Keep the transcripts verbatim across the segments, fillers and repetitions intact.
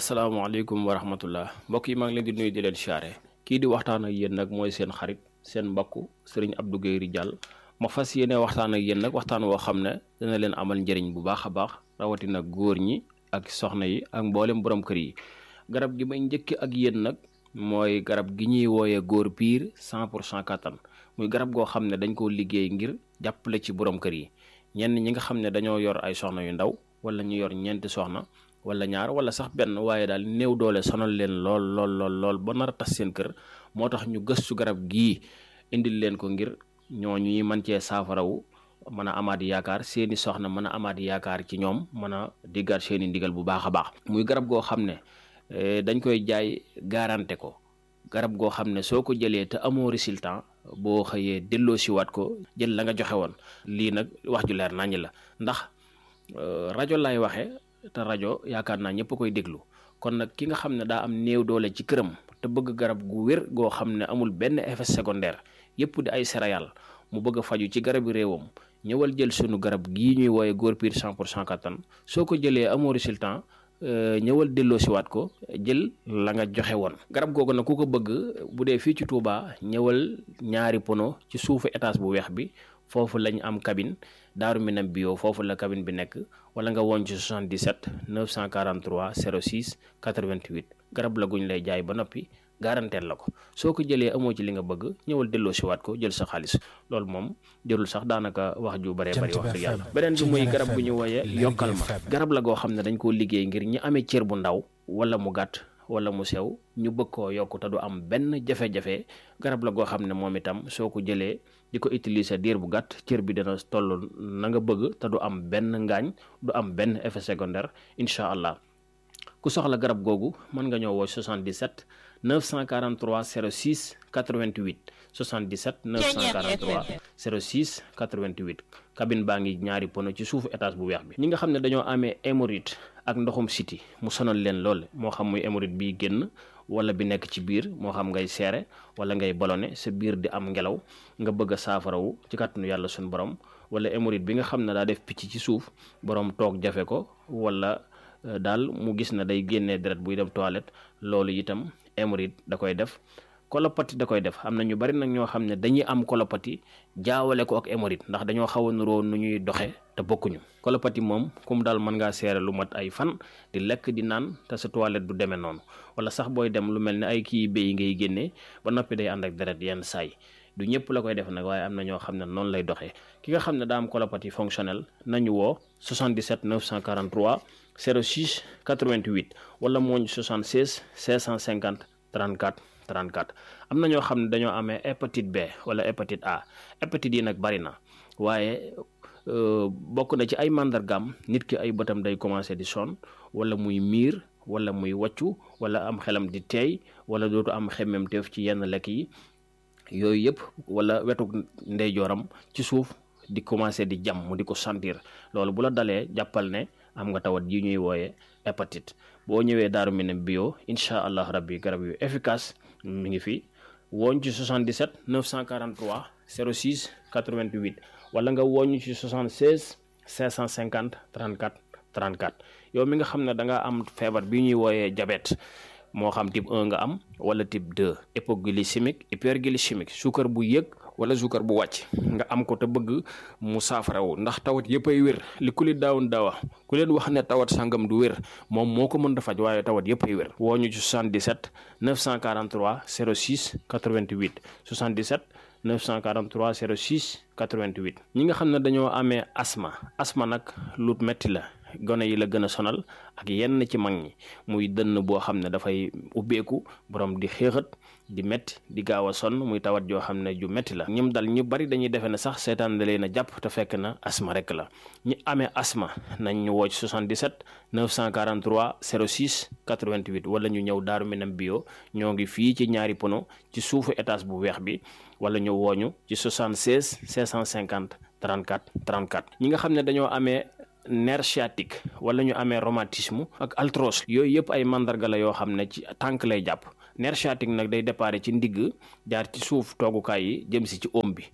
asalaamaaleykum wa rahmatullah mbokk yi maa ngi leen di nuyu di leen siyaare kii di waxtaan ak yéen nag mooy seen xarit seen mbokk sëriñ Abdou Guèye Ridial ma fas yéene waxtaan ak yéen nag waxtaan woo xam ne dana leen amal njëriñ bu baax a baax rawatina góor ñi ak soxna yi ak mboolem borom kër yi. garab gi may njëkk ak yéen nag mooy garab gi ñuy wooyee góor piir cent pour cent kattan muy garab goo xam ne dañ koo liggéey ngir jàppale ci borom kër yi ñenn ñi nga xam ne dañoo yor ay soxna yu ndaw wala ñu yor ñeenti soxna wala ñaar wala sax benn waaye daal néew doole sonal leen lool lool lool lool ba nar a tas seen kër moo tax ñu gëstu garab gii indil leen ko ngir ñooñu ñuy mën cee saafarawu mën a amaat yaakaar seeni soxna mën a amaat yaakaar ci ñoom mën a diggaat seeni ndigal bu baax a baax. muy garab goo xam ne dañ koy jaay garanté ko garab goo xam ne soo ko jëlee te amoo résultat boo xëyee delloo siwaat ko jël la nga joxe woon. lii nag wax ju leer naññ la ndax rajo lay waxe te rajo yaakaar naa ñëpp koy déglu kon nag ki nga xam ne daa am néew doole ci këram te bëgg garab gu wér goo xam ne amul benn effet secondaire yëpp di ay céréales mu bëgg a faju ci garabi réewam ñëwal jël sunu garab gii ñuy wooye góor piir cent pour cent kattan soo ko jëlee amoo résultat ñëwal delloo siwaat ko jël la nga joxe woon. garab googu nag ku ko bëgg bu dee fii ci Touba ñëwal ñaari pono ci suufu étage bu weex bi foofu lañ am cabine Daaru Minam bio foofu la cabine bi nekk wala nga woon ci soixante-dix-sept neuf cent quarante-trois zéro six quatre-vingt-huit garab la guñ lay jaay ba noppi garanteel la ko soo ko jëlee amoo ci li nga bëgg ñëwal delloo siwaat ko jël sa xaalis loolu moom jërul sax daanaka wax ju bare bari wax dëgg yàlla. beneen bi muy garab gu ñu wooye yokkal ma garab la goo xam ne dañ koo liggéey ngir ñi amee cër bu ndaw wala mu gàtt wala mu sew ñu bëgg koo yokk te du am benn jafe-jafe garab la goo xam ne moom itam soo ko jëlee di ko utiliser diir bu gàtt cër bi dana toll na nga bëgg te du am benn ngaañ du am benn effet secondaire incha allah. ku soxla garab googu mën nga ñëw woo soixante-dix-sept neuf cent quarante-trois zéro six quatre-vingt-huit soixante-dix-sept neuf cent quarante-trois zéro six quatre-vingt-huit cabine baa ngi ñaari pono ci suufu étage bu weex bi. ñi nga xam ne dañoo amee hémorroïde ak ndoxum siti mu sonal leen lool moo xam muy hémorroïde bi génn wala bi nekk ci biir moo xam ngay seere wala ngay ballonné sa biir di am ngelaw nga bëgg a saafarawu ci kàttanu yàlla suñu borom wala hémorroïde bi nga xam ne daa def picc ci suuf borom toog jafe ko wala daal mu gis na day génnee deret buy dem toilette loolu itam hémorroïde da koy def. colopathie da koy def am na ñu bari nag ñoo xam ne dañuy am colopathie jaawale ko ak hémorroïde ndax dañoo xaw a nuroo nu ñuy doxe te bokkuñu. colopathie moom comme daal mën ngaa seere lu mat ay fan di lekk di naan te sa toilette du demee noonu wala sax booy dem lu mel ne ay kii béy ngay génnee ba noppi day ànd ak deret yenn saay du ñëpp la koy def nag waaye am na ñoo xam ne noonu lay doxee. ki nga xam ne daa am colopathie fonctionnelle nañu woo soixante-dix-sept neuf cent quarante-trois zéro six quatre-vingt-huit wala mooñ soixante-seize cinq cent cinquante trente-quatre trente-quatre. am na ñoo xam ne dañoo amee hépatite B wala hépatite A hépatite yi nag bari na waaye bokk na ci ay màndargaam nit ki ay bëtam day commencé di sonn wala muy miir wala muy wàccu wala am xelam di teey wala dootu am xemmemteef ci yenn lekk yi yooyu yëpp wala wetu ndeyjooram ci suuf di commencé di jam mu di ko sentir loolu bu la dalee jàppal ne am nga tawat yi ñuy wooye hépatite. boo ñëwee Daaru Minam bio incha allah rabbi garab yu efficace mi ngi fi wooñ ci soixante-dix-sept neuf cent quarante-trois zéro six quatre-vingt-huit wala nga wooñ ci soixante-seize cinq cent cinquante trente-quatre trente-quatre. yow mi nga xam ne da nga am feebar bi ñuy wooyee diabète moo xam type un nga am wala type deux hypoglycémique hyperglycémique suukar bu yëg wala suukar bu wàcc nga am ko te bëgg mu saafarawu ndax tawat yëpp ay wér li ku li daawun daawa ku leen wax ne tawat sangam du wér moom moo ko mën a faj waaye tawat yëpp ay wér. woo ñu ci soixante-dix-sept neuf cent quarante-trois zéro six quatre-vingt-huit soixante-dix-sept neuf cent quarante-trois zéro six quatre-vingt-huit. ñi nga xam ne dañoo amee asma asma nag lu metti la gone yi la gën a sonal ak yenn ci mag ñi muy dënn boo xam ne dafay ubbeeku borom di xéexat di metti di gaaw a sonn muy tawat joo xam ne ju metti la. ñim dal ñu bari dañuy defe ne sax seetaan da leen a jàpp te fekk na asma rek la. ñi amee asma nañ ñu woo ci soixante-dix-sept neuf cent quarante-trois zéro six quatre-vingt-huit wala ñu ñëw Daaru Minam bio ñoo ngi fii ci ñaari pono ci suufu étage bu weex bi wala ñu wooñu ci soixante-seize cinq cent cinquante trente-quatre trente-quatre. ñi nga xam ne dañoo amee nerf sciatique wala ñu amee rhumatisme ak arthrose yooyu yëpp ay mandarga la yoo xam ne ci tànk lay jàpp. nerf sciatique nag day déparé ci ndigg jaar ci suuf toogukaay yi jëm si ci oom bi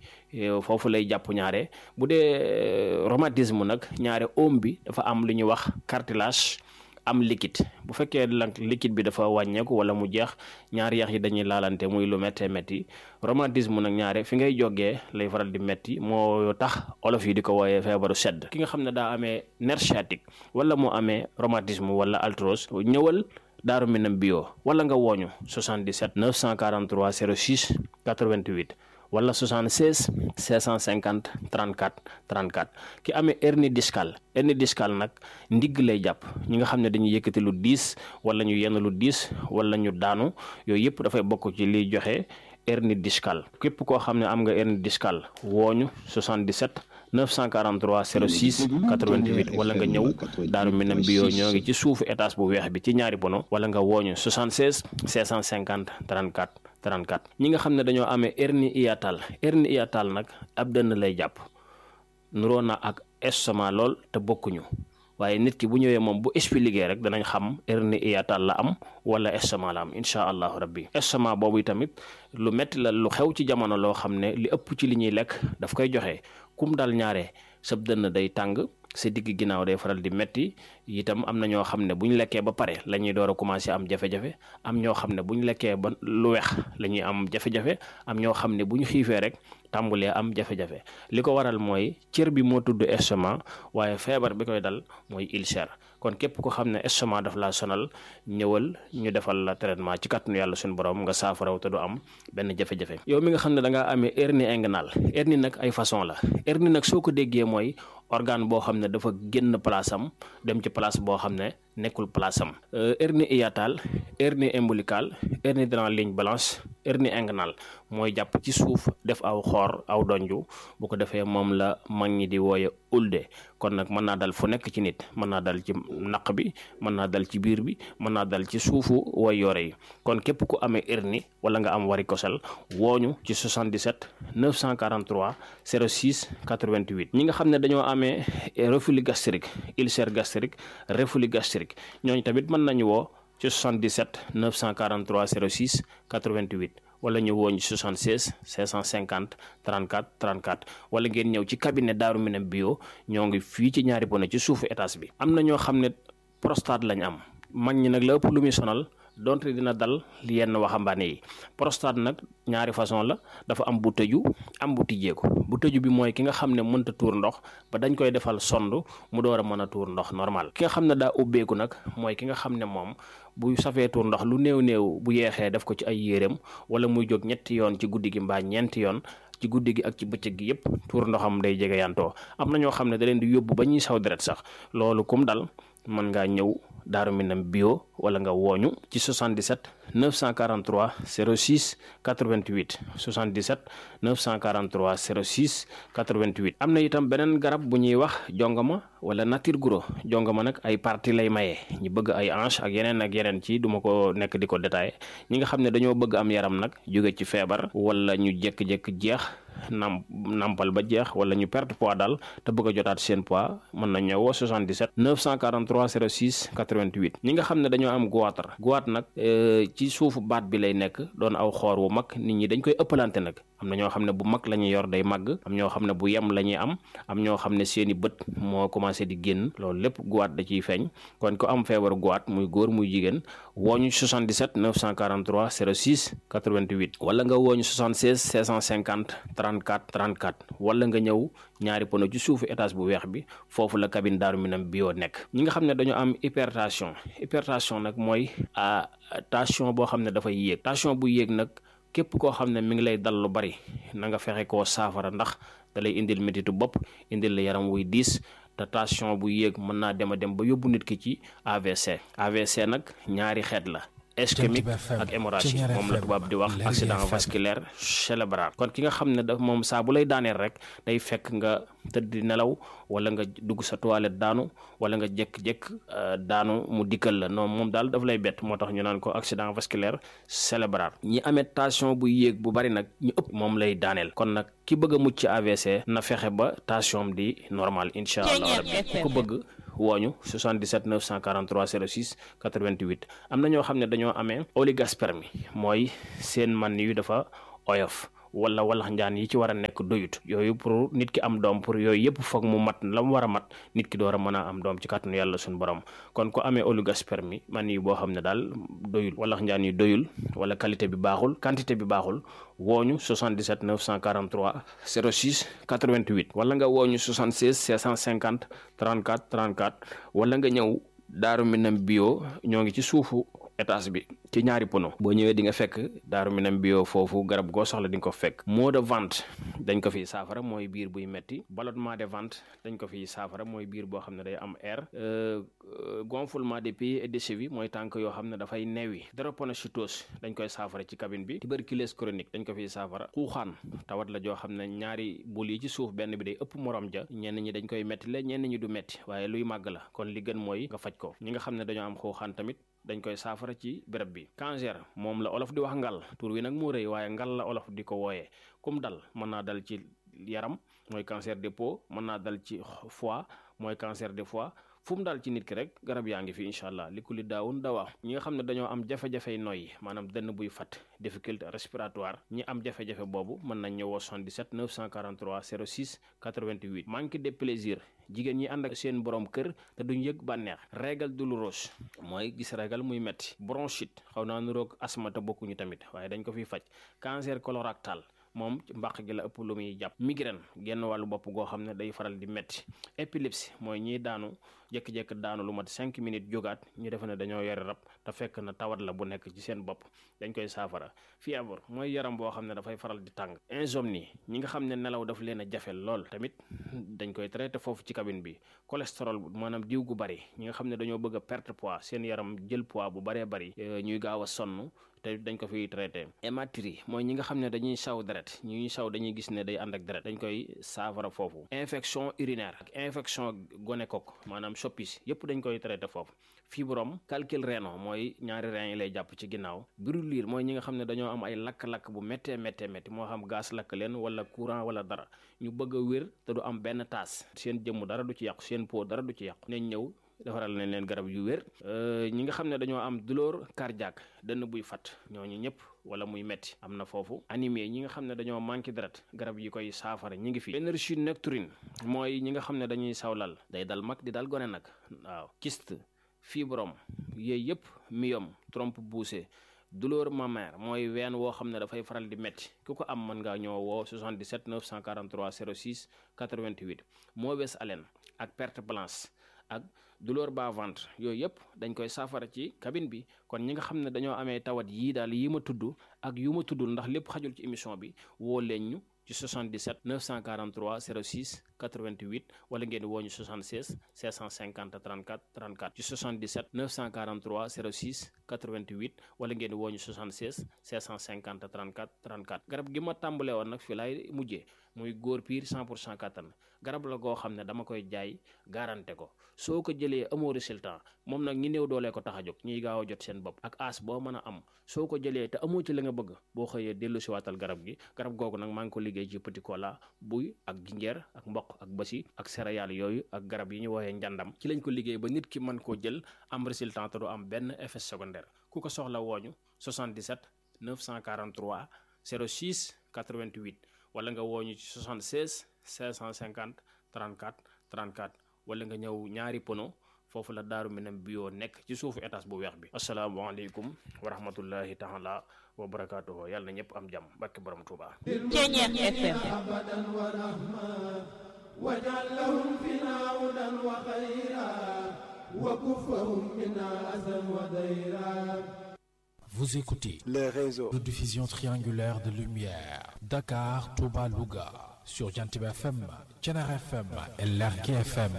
foofu lay jàpp ñaare. bu dee rhumatisme nag ñaare oom bi dafa am lu ñuy wax cartilage am liquide bu fekkee nag liquide bi dafa wàññeeku wala mu jeex ñaari yax yi dañuy laalante muy lu méttee métti rhumatisme nag ñaare fi ngay jógee lay faral di métti moo tax olof yi di ko wooyee feebaru sedd. ki nga xam ne daa amee nerf sciatique wala mu amee rhumatisme wala arthrose ñëwal Daaru Minam bio wala nga wooñu soixante-dix-sept neuf cent quarante-trois zéro six quatre-vingt-huit wala soixante-seize cinq cent cinquante trente-quatre trente-quatre. ki amee hernie discale hernie discale nag ndigg lay jàpp ñi nga xam ne dañuy yëkkati lu diis wala ñu yenn lu diis wala ñu daanu yooyu yëpp dafay bokk ci liy joxe hernie discale. képp koo xam ne am nga hernie discale wooñu soixante-dix-sept neuf cent quarante-trois zéro six quatre-vingt-huit wala nga ñëw Daaru Minam bio ñoo ngi ci suufu étage bu weex bi ci ñaari bono wala nga wooñu soixante-seize cinq cent cinquante trente-quatre trente-quatre. ñi nga xam ne dañoo amee hernie hiatale hernie hiatale nag ab dënn lay jàpp nuroo na ak estomac lool te bokkuñu waaye nit ki bu ñëwee moom bu expliqué rek danañ xam hernie hiatale la am wala estomac la am incha allahu rabbi. estomac boobu tamit lu metti la lu xew ci jamono loo xam ne li ëpp ci li ñuy lekk daf koy joxe kum dal ñaare sab dënn day tàng sa digg ginnaaw day faral di metti itam am na ñoo xam ne bu ñu lekkee ba pare la ñuy door a commencé am jafe-jafe am ñoo xam ne bu ñu lekkee ba lu weex la ñuy am jafe-jafe am ñoo xam ne bu ñu xiifee rek tàmbulee am jafe-jafe li ko waral mooy cër bi moo tudd estomac waaye feebar bi koy dal mooy ulcère. kon képp ko xam ne estomac daf laa sonal ñëwal ñu defal la traitement ci kàttanu yàlla suñu borom nga saafaraw te du am benn jafe-jafe. yow mi nga xam ne da ngaa amee hernie inguinale hernie nag ay façon la hernie nag soo ko déggee mooy organe boo xam ne dafa génn place am dem ci place boo xam ne nekkul place am. hernie hiatale hernie ombilicale hernie dans la ligne blanche hernie inguinale mooy jàpp ci suuf def aw xoor aw donju bu ko defee moom la mag ñi di wooye ulde. kon nag mën naa dal fu nekk ci nit mën naa dal ci naq bi mën naa dal ci biir bi mën naa dal ci suufu way yore yi kon képp ku amee hernie wala nga am varicocèle wooñu ci soixante-dix-sept neuf cent quarante-trois zéro six quatre-vingt-huit. ñi nga xam ne dañoo amee reflux gastrique ulcère gastrique reflux gastrique ñooñu tamit mën nañu woo ci soixante-dix-sept neuf cent quarante-trois zéro six quatre-vingt-huit wala ñu wooñu soixante-seize cinq cent cinquante trente-quatre trente-quatre wala ngeen ñëw ci cabinet Daaru Minam bio ñoo ngi fii ci ñaari bono ci suufu étage bi. am na ñoo xam ne prostate lañ am mag ñi nag la ëpp lu muy sonal donte dina dal yenn waxambaane yi. prostate nag ñaari façon la dafa am bu tëju am bu tijjeeku bu tëju bi mooy ki nga xam ne mënta tuur ndox ba dañ koy defal sond mu door a mën a tuur ndox normal. ki nga xam ne daa ubbeeku nag mooy ki nga xam ne moom bu safee tuur ndox lu néew néew bu yeexee def ko ci ay yéreem wala muy jóg ñetti yoon ci guddi gi mbaa ñeenti yoon ci guddi gi ak ci bëccëg gi yëpp tuur ndoxam day jege yantoo. am na ñoo xam ne da leen di yóbbu ba ñuy saw deret sax loolu kum dal mën ngaa ñëw Daaru Minam bio wala nga wooñu ci soixante-dix-sept neuf cent quarante-trois zéro six quatre-vingt-huit soixante-dix-sept neuf cent quarante-trois zéro six quatre-vingt-huit. am na itam beneen garab bu ñuy wax jongama wala nature guro jongama nag ay partie lay maye ñi bëgg ay hanche ak yeneen ak yeneen ci duma ko nekk di ko détaillé ñi nga xam ne dañoo bëgg am yaram nag jóge ci feebar wala ñu jékki-jékki jeex nam nampal ba jeex wala ñu perte poids daal te bëgg a jotaat seen poids mën na ñëwoo soixante-dix-sept neuf cent quarante-trois zéro six quatre-vingt-huit. ñi nga xam ne dañoo am goitre goitre nag ci suufu baat bi lay nekk doon aw xoor wu mag nit ñi dañ koy ëppalante nag am na ñoo xam ne bu mag la ñuy yor day màgg am ñoo xam ne bu yem la ñuy am am ñoo xam ne seeni bët moo commencé di génn loolu lépp goitre da ciy feeñ kon ko am feebaru goitre muy góor muy jigéen wooñu soixante-dix-sept neuf cent quarante-trois zéro six quatre-vingt-huit wala nga wooñu soixante-seize cinq cent cinquante trente-quatre trente-quatre wala nga ñëw ñaari pono ci suufu étage bu weex bi foofu la cabine Daaru Minam bio nekk. ñi nga xam ne dañoo am hypertension hypertension nag mooy tension boo xam ne dafay yéeg tension bu yéeg nag képp koo xam ne mi ngi lay dal lu bari na nga fexe koo saafara ndax da lay indil métitu bopp indil la yaram wuy diis te tension bu yéeg mën naa dem a dem ba yóbbu nit ki ci A V C A V C nag ñaari xeet la ischémique ak hémorragie moom la tubaab di wax accident vasculaire cérébral. kon ki nga xam ne daf moom saa bu lay daaneel rek day fekk nga tëdd nelaw wala nga dugg sa toilette daanu wala nga jékk-jékk daanu mu dikkal la non moom daal daf lay bett moo tax ñu naan ko accident vasculaire cérébral. ñi amee tension bu yéeg bu bari nag ñu ëpp moom lay daaneel kon nag ki bëgg a mucc ci A V C na fexe ba tension di normal incha allah rabbi ku ko bëgg wooñu soixante-dix-sept neuf cent quarante-trois zéro six quatre-vingt-huit. am na ñoo xam ne dañoo amee oligospermie mooy seen man yu dafa oyof wala walax njaan yi ci war a nekk doyut yooyu pour nit ki am doom pour yooyu yëpp foog mu mat la mu war a mat nit ki door a mën a am doom ci kàttanu yàlla suñu borom kon ko amee oligospermie man yi boo xam ne daal doyul walax njaan yi doyul wala qualité bi baaxul quantité bi baaxul wooñu soixante-dix-sept neuf cent quarante-trois zéro six quatre-vingt-huit wala nga wooñu soixante-seize cinq cent cinquante trente-quatre trente-quatre wala nga ñëw Daaru Minam bio ñoo ngi ci suufu étage bi ci ñaari pono boo ñëwee di nga fekk Daaru Minam bio foofu garab goo soxla di nga ko fekk maux de ventre dañ ko fiy saafara mooy biir buy metti ballonnement de ventre dañ ko fiy saafara mooy biir boo xam ne day am air gonflement des pieds et des chevilles mooy tànk yoo xam ne dafay neewi drépanocytose dañ koy saafara ci cabine bi tuberculose chronique dañ ko fiy saafara xuuxaan tawat la joo xam ne ñaari bul yi ci suuf benn bi day ëpp morom ja ñenn ñi dañ koy metti la ñenn ñi du metti waaye luy màgg la kon li gën mooy nga faj ko ñi nga xam ne dañoo am xuuxaan tamit dañ koy saafara ci béréb bi cancer moom la olof di wax ngal tur wi nag moo rëy waaye ngal la olof di ko wooyee kum dal mën naa dal ci yaram mooy cancer de peau mën naa dal ci foie mooy cancer de foie fu mu daal ci nit ki rek garab yaa ngi fi incha allah li ku li daawun dawaa ñi nga xam ne dañoo am jafe-jafey noyyi maanaam dënn buy fat difficulté respiratoire ñi am jafe-jafe boobu mën nañ ñëwoo soixante-dix-sept neuf cent quarante-trois zéro six quatre-vingt-huit manque de plaisir jigéen ñi ànd ak seen borom kër te duñ yëg bànneex régal douloureuse mooy gis régal muy metti bronchite xaw naa nuroog asthme te bokkuñu tamit waaye dañ ko fiy faj cancer colorectal moom mbàq gi la ëpp lu muy jàpp migraine genn wàllu bopp goo xam ne day faral di metti épilepsie mooy ñiy daanu jékki-jékki daanu lu mat cinq minutes jógaat ñu defe ne dañoo yore rab te fekk na tawat la bu nekk ci seen bopp dañ koy saafara fièvre mooy yaram boo xam ne dafay faral di tàng insomnie ñi nga xam ne nelaw daf leen a jafe lool tamit dañ koy traité foofu ci cabine bi cholestérol maanaam diw gu bari ñi nga xam ne dañoo bëgg a perte poids seen yaram jël poids bu baree bari ñuy gaaw a sonn te dañ ko fiy traité hématurie mooy ñi nga xam ne dañuy saw deret ñuy saw dañuy gis ne day ànd ak deret dañ koy saafara foofu infection urinaire ak infection gonocoque maanaam soppis yëpp dañ koy traité foofu fibrome calcul rénal mooy ñaari rein yi lay jàpp ci ginnaaw brûlure mooy ñi nga xam ne dañoo am ay lakk-lakk bu méttee méttee métti moo xam gaz lakk leen wala courant wala dara ñu bëgg a wér te du am benn taas seen jëmm dara du ci yàqu seen peau dara du ci yàqu nañ ñëw defaral nañ leen garab yu wér ñi nga xam ne dañoo am douleur cardiaque dënn buy fat ñooñu ñëpp wala muy metti am na foofu anémie ñi nga xam ne dañoo manqué deret garab yi koy saafara ñi ngi fi énergie nocturne mooy ñi nga xam ne dañuy sawlal day dal mag di dal gone nag waaw kyste fibrome yooyu yëpp myome trompe poussée douleur mammaire mooy ween woo xam ne dafay faral di metti ku ko am mën ngaa ñëw woo soixante-dix-sept neuf cent quarante-trois zéro six quatre-vingt-huit mauvaise haleine ak perte blanche ak douleur bas ventre yooyu yëpp dañ koy saafara ci cabine bi kon ñi nga xam ne dañoo amee tawat yii daal yi ma tudd ak yu ma tuddul ndax lépp xajul ci émission bi woo leen ñu ci soixante-dix-sept neuf cent quarante-trois zéro six quatre-vingt-huit wala ngeen woo ñu soixante-seize cinq cent cinquante trente-quatre trente-quatre ci soixante-dix-sept neuf cent quarante-trois zéro six quatre-vingt-huit wala ngeen woo ñu soixante-seize cinq cent cinquante trente-quatre trente-quatre garab gi ma tàmbalee woon nag fi laay mujjee muy góor piir cent pour cent kattan garab la goo xam ne dama koy jaay garanté ko soo ko jëlee amoo résultat moom nag ñi néew doolee ko tax a jóg ñiy gaaw a jot seen bopp ak as boo mën a am soo ko jëlee te amoo ci la nga bëgg boo xëyee dellu si waatal garab gi garab googu nag maa ngi ko liggéey ci petit cola buy ak jinjeer ak mboq ak basi ak céréales yooyu ak garab yi ñu woowee njàndam ci lañ ko liggéey ba nit ki mën koo jël am résultat te du am benn effet secondaire ku ko soxla wooñu soixante-dix-sept neuf cent quarante-trois zéro six quatre-vingt-huit wala nga wooñu ci soixante-seize cinq cent cinquante trente-quatre trente-quatre wala nga ñëw ñaari pono foofu la Daaru Minam bio nekk ci suufu étage bu weex bi asalaamaaleykum wa rahmatullahi taala wa barakaatuhu yàlla na ñëpp am jàmm barke borom Tuuba Ceeñeex F M waj'al lahum fina hudan wa khayra wa kufahum minna azan wa dayra. Vous écoutez le réseau de diffusion triangulaire de lumière Dakar, Touba, Louga sur Jantib F M, Thiénaba F M et Lergui F M.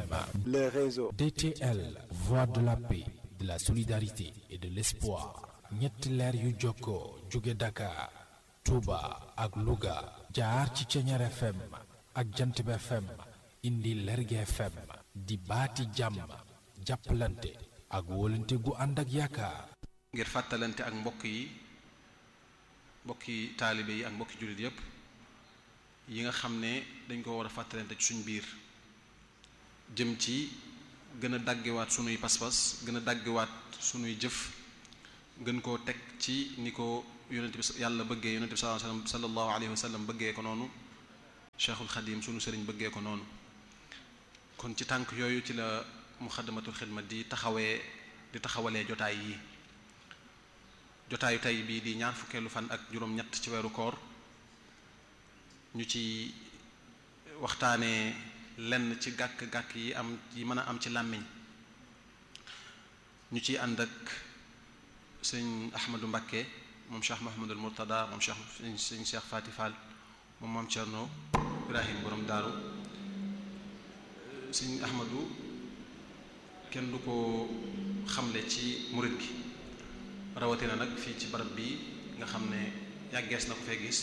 le réseau D T L, voix de la paix, de la solidarité et de l'espoir. ñetti leer yu jokkoo jóge Dakar, Touba ak Louga jaar ci Thiénaba F M ak Jantib F M indi Lergui F M di baati jàmm jàppalante ak wóolante gu ànd ak yaakaar. ngir fàttalante ak mbokk yi mbokki taalibe yi ak mbokki jullit yépp yi nga xam ne dañ ko war a fàttalante ci suñ biir jëm ci gën a daggewaat sunuy pas-pas gën a daggewaat sunuy jëf gën koo teg ci ni ko yonent bi yàlla bëggee yonent bi sallallahu alayhi wa sallam bëggee ko noonu Cheikhul Khadim sunu sëriñ bëggee ko noonu. kon ci tànk yooyu ci la Muxaddamatul Xidma di taxawee di taxawalee jotaay yi jotaayu tey bii di ñaar fukkeelu fan ak juróom-ñett ci weeru koor ñu ci waxtaanee lenn ci gàkk-gàkk yi am yi mën a am ci làmmiñ ñu ciy ànd ak sëñ Ahmadou Mbakke moom Cheikh Mahamadul Murtada moom Cheikh sëñ Cheikh Fati Fall moom maam Cerno Ibrahim borom daaru sëñ Ahmadou kenn du ko xamle ci murit gi rawatina nag fii ci barab bi nga xam ne yàggees na ko fee gis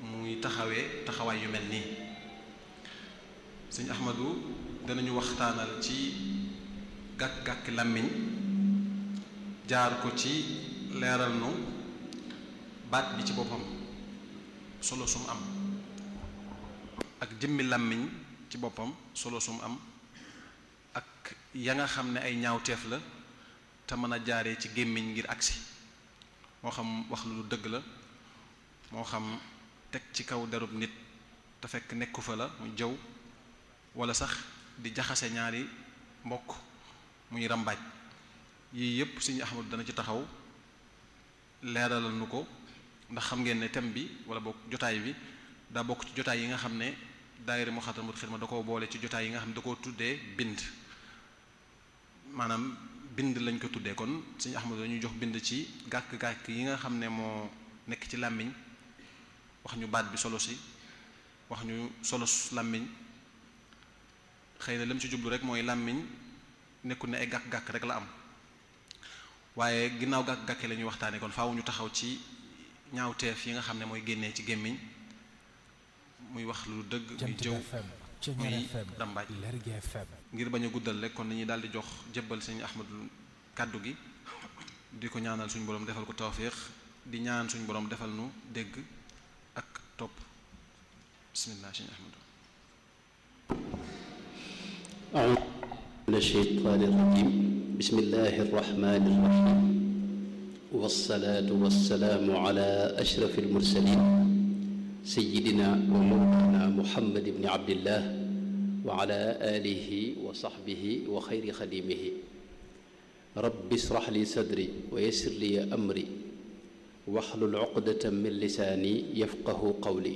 muy taxawee taxawaay yu mel nii sëñ Ahmadou danañu waxtaanal ci gàkk-gàkk làmmiñ jaar ko ci leeral nu baat bi ci boppam solo sum am ak jëmmi làmmiñ ci boppam solo sum am ak ya nga xam ne ay ñaawteef la te mën a jaaree ci gémmiñ ngir agsi moo xam wax lu dëgg la moo xam teg ci kaw derub nit te fekk nekku fa la muy jëw wala sax di jaxase ñaari mbokk muy rambaaj yii yépp Sëriñ Ahmadu dana ci taxaw leeralal nu ko ndax xam ngeen ne thème bi wala bokk jotaay bi daa bokk ci jotaay yi nga xam ne daayira Muxaddamatul Xidma da koo boole ci jotaay yi nga xam ne da koo tuddee bind maanaam bind lañ ko tuddee kon Sëriñ Ahmadu dañuy jox bind ci gàkk-gàkk yi nga xam ne moo nekk ci làmmiñ wax ñu baat bi solo si wax ñu solo làmmiñ xëy na lim ci jublu rek mooy làmmiñ nekkul ne ay gàkk-gàkk rek la am waaye ginnaaw gàkk-gàkk la ñuy waxtaanee kon faaw ñu taxaw ci ñaawteef yi nga xam ne mooy génnee ci gémmiñ muy wax lu dëgg muy jëw muy rambaaj ngir bañ a guddal rek kon dañuy daal di jox jébbal Sëriñ Ahmadu kàddu gi di ko ñaanal suñu borom defal ko tawfiix di ñaan suñu borom defal nu dégg ak topp bismillah Sëriñ Ahmadu a'uuzu mina shaytaani rajiim bismillahi rahmaani rahiim wassalaatu wassalaamu ala ashrafil mursaliin sayyidina wa mawlaana Muhammad ibn Abdillah wa ala aalihi wa sahbihi wa xayri xadiimihi rabbi israh li sadri wa yassir li amri wahlul uqdatan min lisaani yafqahu qawli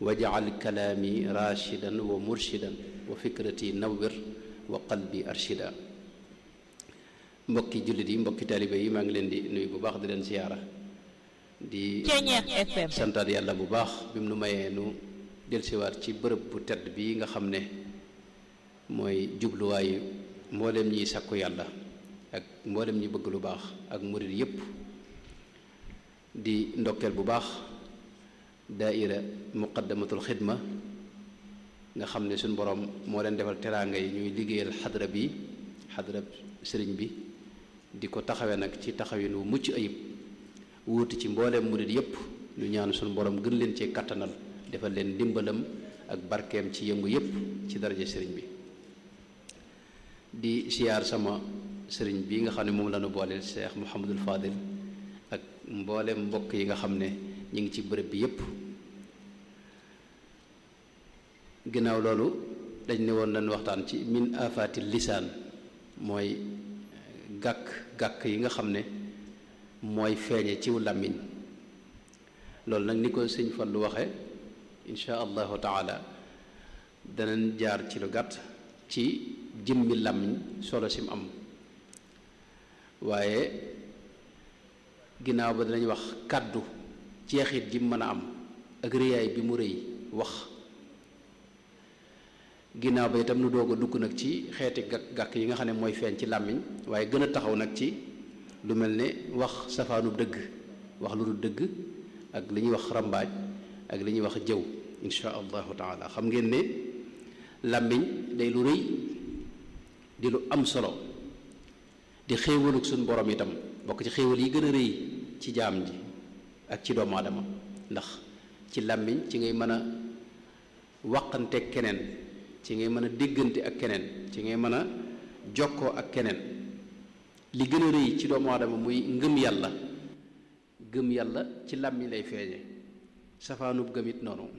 waj'al kalaami raashidan wa murshidan wa fikrati nawwir wa qalbi arshida mbokki jullit yi mbokki taalibe yi maa ngi leen di nuyu bu baax di leen siyaara di santaat yàlla bu baax bi mu nu mayee nu delsiwaat ci bërëb bu tedd bi nga xam ne mooy jubluwaayu mboolem ñiy sakku yàlla ak mboolem ñi bëgg lu baax ak murit yépp di ndokkeel bu baax daaira Muqaddamatul Xidma nga xam ne suñ borom moo leen defal teraanga yi ñuy liggéeyal xadra bi xadra sëriñ bi di ko taxawee nag ci taxawin wu mucc ayib wuuti ci mbooleem murit yépp ñu ñaan suñu borom gën leen cee kattanal defal leen ndimbalam ak barkeem ci yëngu yépp ci daraja sëriñ bi di siyaar sama sëriñ bi nga xam ne moom la ñu booleel Cheikh Mouhamadul Fadil ak mbooleem mbokk yi nga xam ne ñu ngi ci bërëb bi yépp ginnaaw loolu dañ ne woon nañ waxtaan ci min afaati lisaan mooy gàkk-gàkk yi nga xam ne mooy feeñe ciw làmmiñ loolu nag ni ko sëñ Fallu waxe insha allahu taala danañ jaar ci lu gàtt ci jëmmi làmmiñ solo sim am waaye ginnaaw ba danañ wax kàddu jeexit ji mën a am ak rëyaay bi mu rëy wax ginnaaw ba itam nu doog a dugg nag ci xeeti gàkk-gàkk yi nga xam ne mooy feeñ ci làmmiñ waaye gën a taxaw nag ci lu mel ne wax safaanu dëgg wax lu dul dëgg ak li ñuy wax rambaaj ak li ñuy wax jëw insha allahu taala xam ngeen ne làmmiñ day lu rëy di lu am solo di xéewaluk suñ borom itam bokk ci xéewal yi gën a rëy ci jaam ji ak ci doomu aadama ndax ci làmmiñ ci ngay mën a waqante keneen ci ngay mën a déggante ak keneen ci ngay mën a jokkoo ak keneen li gën a rëy ci doomu aadama muy ngëm yàlla gëm yàlla ci làmmiñ lay feeñe safaanub gëm it noonu